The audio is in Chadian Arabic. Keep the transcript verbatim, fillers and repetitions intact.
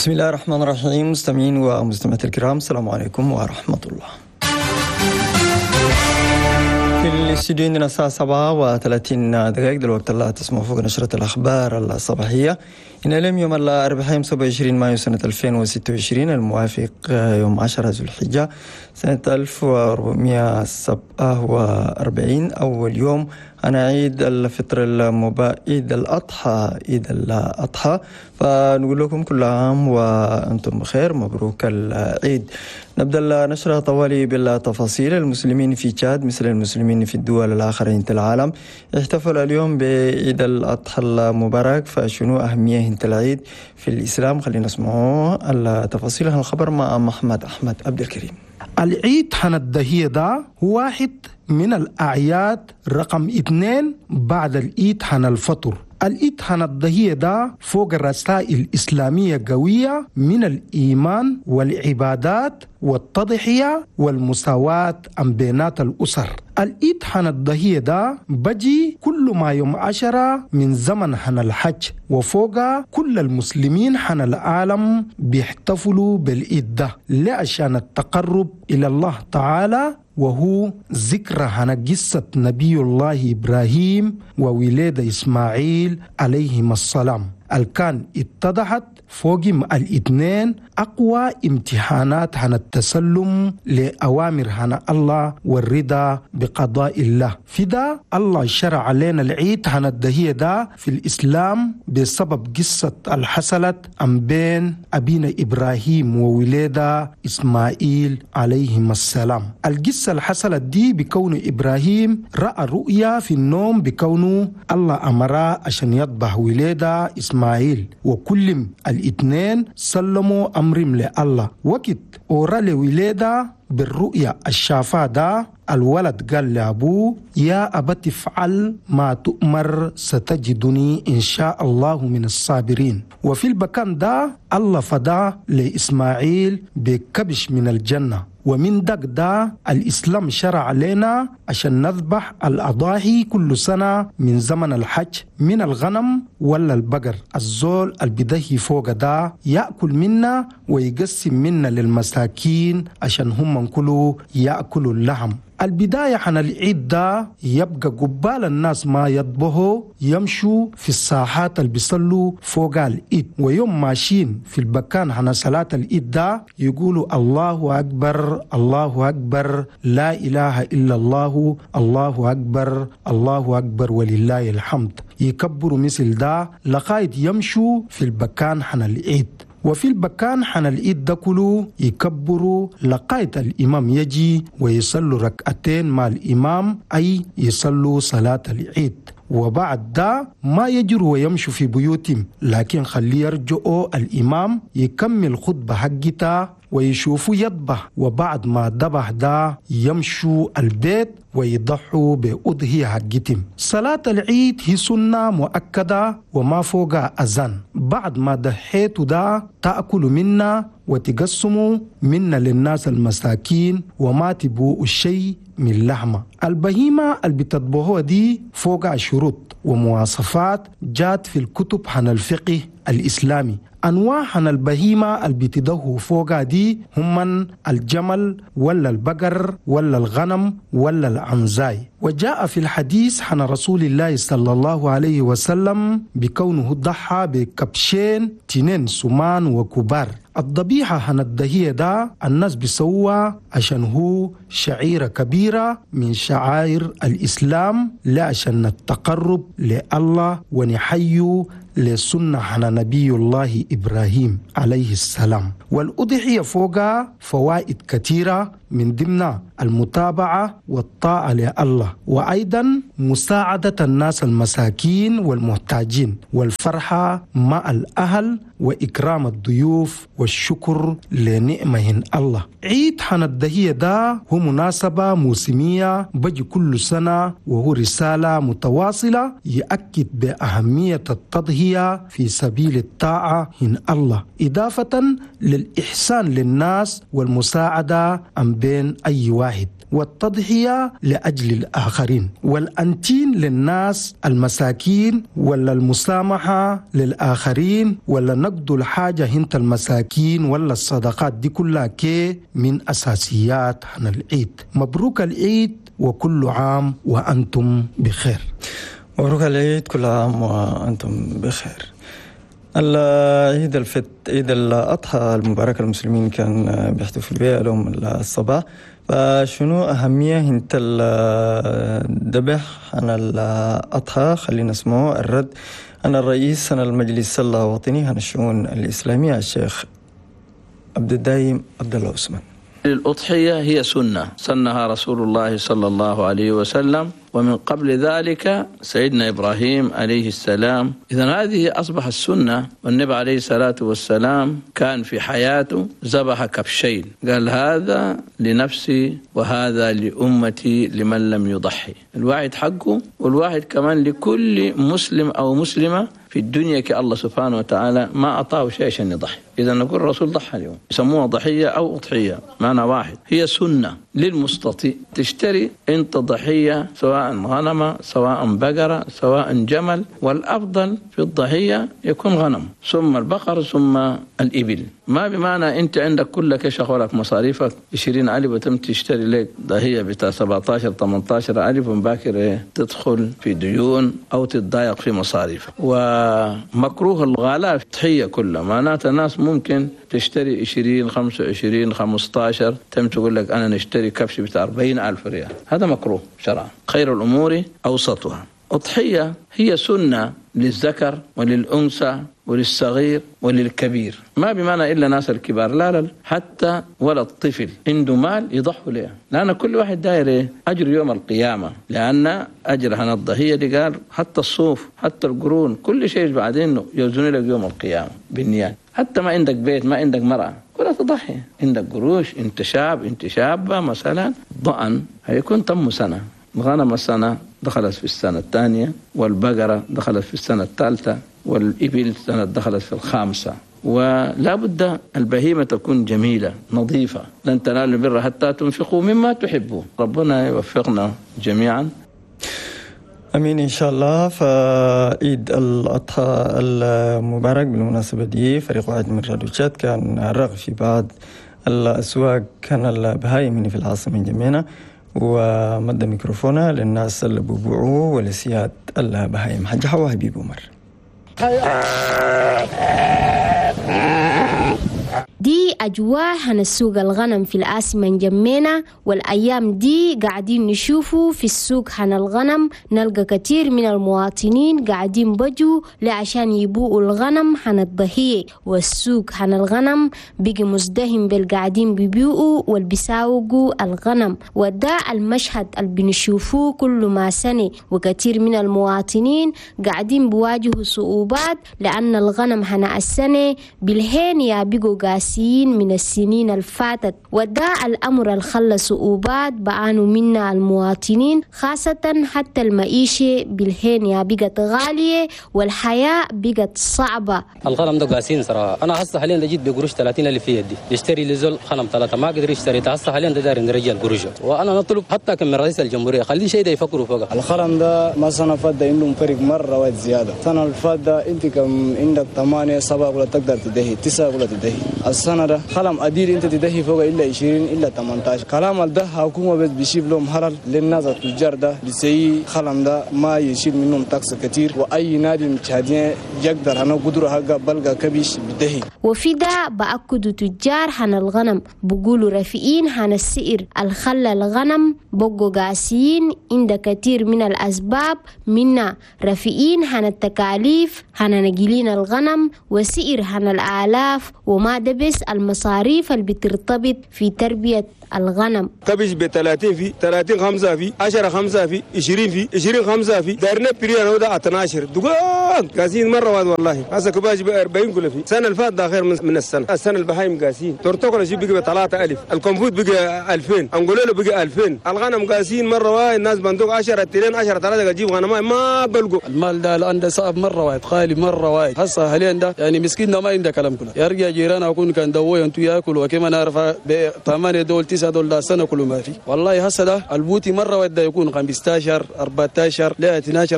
بسم الله الرحمن الرحيم. مستمعين ومستمعات الكرام، السلام عليكم ورحمة الله. في الاستوديو عندنا الساعة سبعة وثلاثين دقائق، دلوقتي الله تسمعوا فوق نشرة الأخبار الصباحية. إن اليوم يوم الأربعاء سبعة وعشرين مايو سنة ألفين وستة وعشرين، الموافق يوم عشرة ذو الحجة سنة ألف وأربعمائة وسبعة وأربعين، أول يوم أنا عيد الفطر المبارك، عيد الأضحى، عيد الأضحى. فنقول لكم كل عام وأنتم بخير، مبروك العيد. نبدأ النشرة طوالي بالتفاصيل. المسلمين في تشاد مثل المسلمين في الدول الآخرين في العالم احتفلوا اليوم بعيد الأضحى المبارك. فشنو أهمية العيد في الإسلام؟ خلينا نسمعوا التفاصيل الخبر مع محمد أحمد عبد الكريم. العيد حن ده هو واحد من الأعياد رقم اثنين بعد العيد حن الفطر. العيد حن الضحية ده فوق الرسائل الإسلامية قوية من الإيمان والعبادات والتضحية والمساواة أم بينات الأسر. العيد حن الضحية ده بجي كل ما يوم عشرة من زمن حن الحج، وفوق كل المسلمين حن العالم بيحتفلوا بالعيد ده لعشان التقرب إلى الله تعالى، وهو ذكرى عن قصة نبي الله إبراهيم وولاد إسماعيل عليهما السلام، الكان اتضحت فوقهم الاثنين أقوى امتحانات عن التسلم لأوامر عن الله والرضا بقضاء الله. في ده الله شرع علينا العيد عن الدهية ده في الإسلام بسبب قصة الحصلت أم بين أبينا إبراهيم وولادة إسماعيل عليهما السلام. القصة الحصلت دي بكون إبراهيم رأى رؤيا في النوم بكونه الله أمره عشان يذبح ولادة إسماعيل، وكل الاثنين سلموا أمرهم لله. وقت أورا لولادة بالرؤيا الشافا ده الولد قال لأبوه: يا أبت افعل ما تؤمر ستجدني إن شاء الله من الصابرين. وفي البكان ده الله فدا لإسماعيل بكبش من الجنة. ومن دق ده الإسلام شرع علينا عشان نذبح الأضاحي كل سنة من زمن الحج من الغنم ولا البقر. الزول البدهي فوق ده يأكل منا ويقسم منا للمساكين عشان هم كلوا يأكلوا اللحم. البداية عن العيد ده يبقى قبال الناس ما يطبخوا يمشوا في الساحات اللي بيصلوا فوق العيد، ويوم ماشيين في البكان عن صلاة العيد ده يقولوا الله أكبر الله أكبر لا إله إلا الله الله أكبر الله أكبر ولله الحمد. يكبروا مثل ده لغاية يمشوا في البكان عن العيد. وفي البكان حن العيد ده كله يكبروا لغاية الإمام يجي ويصلوا ركعتين مع الإمام، أي يصلوا صلاة العيد. وبعد ده ما يجروا ويمشوا في بيوتهم، لكن خلي يرجعوا الإمام يكمل خطبة حقته ويشوفوا يذبح، وبعد ما ذبح ده يمشوا البيت ويضحوا بأضحية حقتهم. صلاة العيد هي سنة مؤكدة وما فوق أذان. بعد ما ضحيتوا ده تأكلوا منا وتقسموا منا للناس المساكين وما تبوء الشيء من لحمة. البهيمة اللي بتطبخوها دي فوق شروط ومواصفات جات في الكتب عن الفقه الإسلامي. أنواع عن البهيمة اللي بتدهوا فوقها دي هم الجمل ولا البقر ولا الغنم ولا العنزاي. وجاء في الحديث عن رسول الله صلى الله عليه وسلم بكونه ضحى بكبشين تنين سمان وكبار. الضبيحة عن الدهية ده الناس بيسوى عشان هو شعيرة كبيرة من شعائر الإسلام، لا عشان التقرب لله ونحيو لسنة عن نبي الله إبراهيم عليه السلام. والأضحية فوقها فوائد كثيرة من ضمنها المتابعة والطاعة لله، وأيضا مساعدة الناس المساكين والمحتاجين، والفرحة مع الأهل، وإكرام الضيوف، والشكر لنعمه الله. عيد حن الدهية ده هو مناسبة موسمية بجي كل سنة، وهو رسالة متواصلة يأكد بأهمية التضحية في سبيل الطاعة هن الله، إضافة للإحسان للناس والمساعدة أم بين أي واحد. والتضحية لأجل الآخرين، والأنتين للناس المساكين، ولا المسامحة للآخرين، ولا نقد الحاجة هنت المساكين، ولا الصدقات دي كلها كي من أساسيات عن العيد. مبروك العيد وكل عام وأنتم بخير. مبروك العيد، كل عام وأنتم بخير. العيد الفت عيد الأضحى المبارك المسلمين كان بيحتفل بها اليوم الصباح. فشنو أهمية انت الذبح عن الأضحى؟ خلينا نسمعه الرد عن الرئيس عن المجلس الوطني عن الشؤون الإسلامية الشيخ عبد الدايم عبد الله عثمان. الأضحية هي سنة سنها رسول الله صلى الله عليه وسلم، ومن قبل ذلك سيدنا إبراهيم عليه السلام. إذن هذه أصبح السنة. والنبي عليه الصلاة والسلام كان في حياته ذبح كبشين، قال هذا لنفسي وهذا لأمتي لمن لم يضحي. الواحد حقه، والواحد كمان لكل مسلم أو مسلمة في الدنيا كالله سبحانه وتعالى ما أعطاه شيء عشان يضحي. إذا نقول الرسول ضحى اليوم، يسموها ضحية أو أضحية، معنى واحد، هي سنة للمستطيع. تشتري أنت ضحية سواء غنمة سواء بقرة سواء جمل، والأفضل في الضحية يكون غنم ثم البقر ثم الإبل. ما بمعنى أنت عندك كل شغلك مصاريفك عشرين ألف وتم تشتري لك ضحية بتاع سبعة عشر ثمانية عشر ألف ومباكر تدخل في ديون أو تتضايق في مصاريفك. ومكروه الغلاء في الضحية كلها، معناته الناس ممكن تشتري عشرين خمسة وعشرين خمسة عشر تم تقول لك أنا نشتري كبش بتاع أربعين ألف ريال، هذا مكروه شرعا. خير الأمور أوسطها. أضحية هي سنة للذكر وللأنثى وللصغير وللكبير، ما بمعنى إلا ناس الكبار، لا لا، حتى ولا الطفل عنده مال يضحوا له، لأن كل واحد داير أجر يوم القيامة، لأن أجر هنا الضحية دي قال حتى الصوف حتى القرون كل شيء بعدين يوزن لك يوم القيامة بالنيات. حتى ما عندك بيت ما عندك مرأة ولا تضحي، عندك قروش، انت شاب انت شابة مثلا، ضأن هيكون تم سنة، الغنم السنة دخلت في السنة الثانية، والبقرة دخلت في السنة الثالثة، والإبل سنة دخلت في الخامسة. ولا بد البهيمة تكون جميلة نظيفة، لن تنالوا البر حتى تنفقوا مما تحبون. ربنا يوفقنا جميعا، أمين إن شاء الله. فعيد الأضحى المبارك بالمناسبة دي فريق واحد من راديو تشاد كان رغب في بعض الأسواق كان البهايم في العاصمة جميعنا، ومد ميكروفونه للناس اللي بيبيعوه ولسياد البهايم. حاج حوا حبيب عمر. دي أجواء هنسوق الغنم في العاصمة جمينا، والأيام دي قاعدين نشوفه في السوق هن الغنم، نلقى كثير من المواطنين قاعدين بجوا لعشان يبوقوا الغنم هن الضحية، والسوق هن الغنم بقي مزدهم بالقاعدين بيبيعوا والبيساوقوا الغنم، وده المشهد اللي بنشوفوه كل ما سنة. وكثير من المواطنين قاعدين بواجهوا صعوبات لأن الغنم هن السنة بالهين يا بقوا قاسيين من السنين الفاتت، وده الأمر اللي خلى صعوبات بعانوا منا المواطنين، خاصة حتى المعيشة بالهين يا بقت غالية والحياة بقت صعبة. الغنم ده قاسين صراحة، أنا هسه حاليا جيت بقروش ثلاثين ألف في يدي يشتري لزول غنم ثلاثة ما قدر يشتري، هسه حاليا ده داير نرجع القروش، وأنا نطلب حتى كم من رئيس الجمهورية خليه شيء ده يفكروا فوقه. الغنم ده ما سنة فاتت عندهم فرق مرة واحد زيادة، سنة الفاتت أنت كم عندك ثمانية سبعة ولا تقدر تدهي تسعة ولا تدهي، السنة ده خلم أدير أنت تدهي فوق إلا عشرين إلا ثمانية عشر. كلام ده حكومة بس بيشيل لهم هرل للناس التجار ده بيسيء خلم ده ما يشيل منهم تاكس كتير، وأي نادي متشادين يقدر أنا قدره حقه بلغة كبيش بدهي. وفي ده بأكدوا تجار حن الغنم بقولوا رفيقين حن السئر الخلى الغنم بقوا قاسيين عند كثير من الأسباب، منا رفيقين حن التكاليف حن نجيلين الغنم وسئر حن الآلاف وما دبس المصاريف اللي بترتبط في تربية الغنم. كبش ب ثلاثين في ثلاثين خمسة في عشرة خمسة في عشرين في عشرين خمسة في دارنا بريان هذا اثنا عشر دقان قاسين مرة واحد والله. هسه كباش ب أربعين كل في السنة اللي فاتت ده خير من السنة، السنة البهايم قاسين ترتقل شيء بقى ثلاثة ألف، الكمفوت بقى ألفين، انقولوا بقى ألفين، الغنم قاسين مرة واحد، الناس بندوق عشرة ترين عشرة ثلاثة تجيب غنم ما بلقوا. المال ده الآن ده صعب مرة واحد، غالي مرة واحد، هسه حاليا ده يعني مسكين ما عنده كلام كله، يرجع جيرانه أكون كان دوه ينتو ياكل وكما نعرف ب ثمانية دول تسعة دول ده سنة كله ما في. والله هسه ده البوتي مرة واحدة يكون خمستاشر أربعتاشر لا اتناشر.